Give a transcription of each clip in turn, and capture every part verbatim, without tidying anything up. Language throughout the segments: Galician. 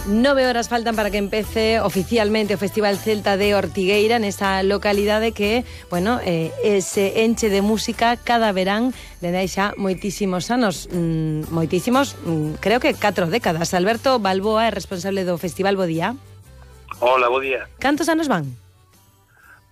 Nove horas faltan para que empece oficialmente o Festival Celta de Ortigueira nesa localidade que, bueno, eh, se enche de música cada verán dende hai xa moitísimos anos, mm, moitísimos, mm, creo que catro décadas. Alberto Balboa é responsable do festival. Bo día. Hola, bo día. Cantos anos van?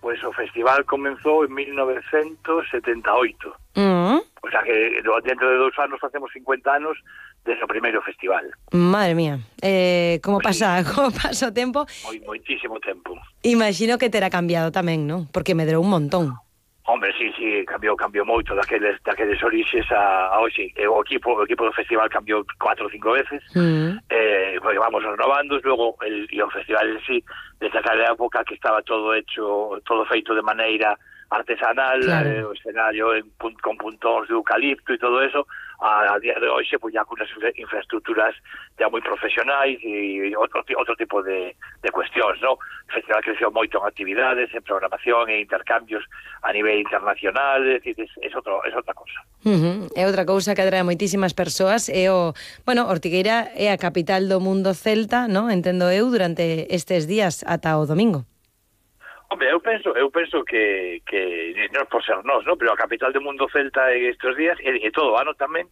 Pois o festival comenzou en mil novecentos setenta e oito. Mm. O sea que dentro de dous anos facemos cincuenta anos desde o primeiro festival. Madre mía, eh, como Pues pasa, sí. como pasa o tempo? Moi, moitísimo tempo. Imagino que terá cambiado tamén, non? Porque medrou un montón. Hombre, sí, sí, cambiou, cambiou moito daqueles, daqueles orixes a, a hoxe. O equipo, o equipo do festival cambiou cuatro ou cinco veces. Mm. Eh, pues vamos renovando, luego el, e o festival en sí, desde aquela época que estaba todo hecho, todo feito de maneira artesanal, claro. eh, o escenario en, con puntóns de eucalipto e todo eso, a, a día de hoxe pues ya con unas infraestructuras ya moi profesionais e outro, outro tipo de, de cuestións, ¿no? O festival creceu moito en actividades, en programación e intercambios a nivel internacional, es, es, es, otro, es outra cosa. Uh-huh. É outra cousa que atrae moitísimas persoas, é o, bueno, Ortigueira é a capital do mundo celta, ¿no? Entendo eu, durante estes días ata o domingo. Hombre, eu penso, eu penso que, que non por ser nós, ¿no? Pero a capital do mundo celta estes días, e, e todo o ano tamén,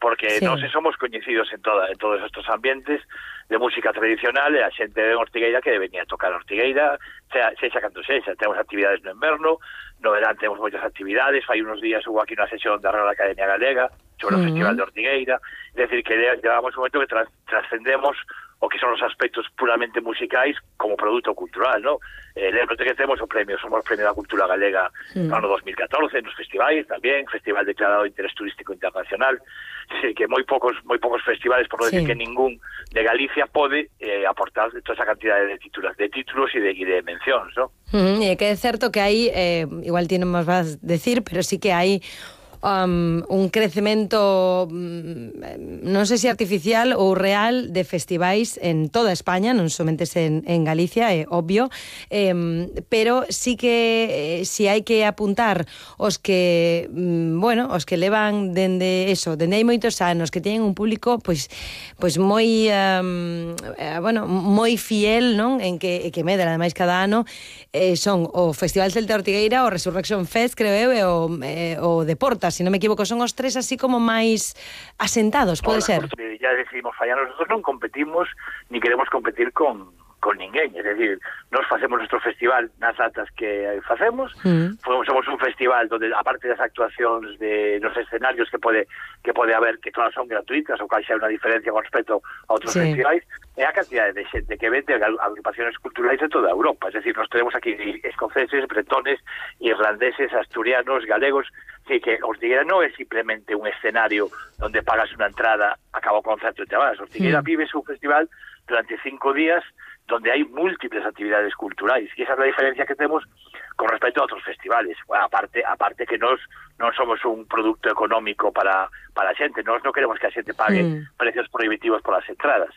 porque sí. Nós somos coñecidos en toda en todos estes ambientes de música tradicional, e a xente de Ortigueira que venía a tocar Ortigueira, sea, sexa canto sexa. Temos actividades no inverno, no verán temos moitas actividades, fai unos días hubo aquí unha sesión da Real Academia Galega sobre uh-huh. o Festival de Ortigueira, é dicir, que llevamos un momento que tras, trascendemos o que son os aspectos puramente musicais como produto cultural, ¿no? Eh, lembro que temos o premio, somos premio da cultura galega mm. no ano dos mil catorce, nos festivais tamén, festival declarado de interés turístico internacional, sí, que moi poucos moi poucos festivales, por non sí. decir que ningún de Galicia pode eh, aportar toda esa cantidad de títulos, de títulos e de, e de mencións, ¿no? Mm, e que é certo que hai, eh, igual ti non nos vas decir, pero sí que hai Um, un crecemento mm, non sei se artificial ou real de festivais en toda España, non somente en, en Galicia, é obvio, eh, pero sí que eh, si hai que apuntar os que mm, bueno, os que levan dende eso, dende hai moitos anos, que teñen un público pois pois moi um, eh, bueno, moi fiel, non? En que que medra ademais cada ano, eh, son o Festival Celta Ortigueira, o Resurrection Fest, creo eu, e o, eh, o Deportas, se non me equivoco, son os tres así como máis asentados, pode ser? Ya decidimos fallar, nosotros non competimos ni queremos competir con con ninguén, es decir, nos facemos nuestro festival nas datas que facemos, mm. somos un festival donde, aparte das actuacións de los escenarios que pode que pode haber, que todas son gratuitas, ou cal xa unha diferencia con respecto a outros sí. festivais, é a cantidad de xente que vende agrupaciones culturais de toda Europa, es decir, nos tenemos aquí escoceses, bretones, irlandeses, asturianos, galegos, así que Ortigueira non é simplemente un escenario donde pagas unha entrada, acaba o concerto e te vas. Ortigueira mm. vive su festival durante cinco días donde hay múltiples actividades culturais, e esa é a diferencia que temos con respecto a outros festivales. Bueno, aparte aparte que nós non somos un producto económico para para a xente, nós non queremos que a xente pague mm. precios prohibitivos por as entradas.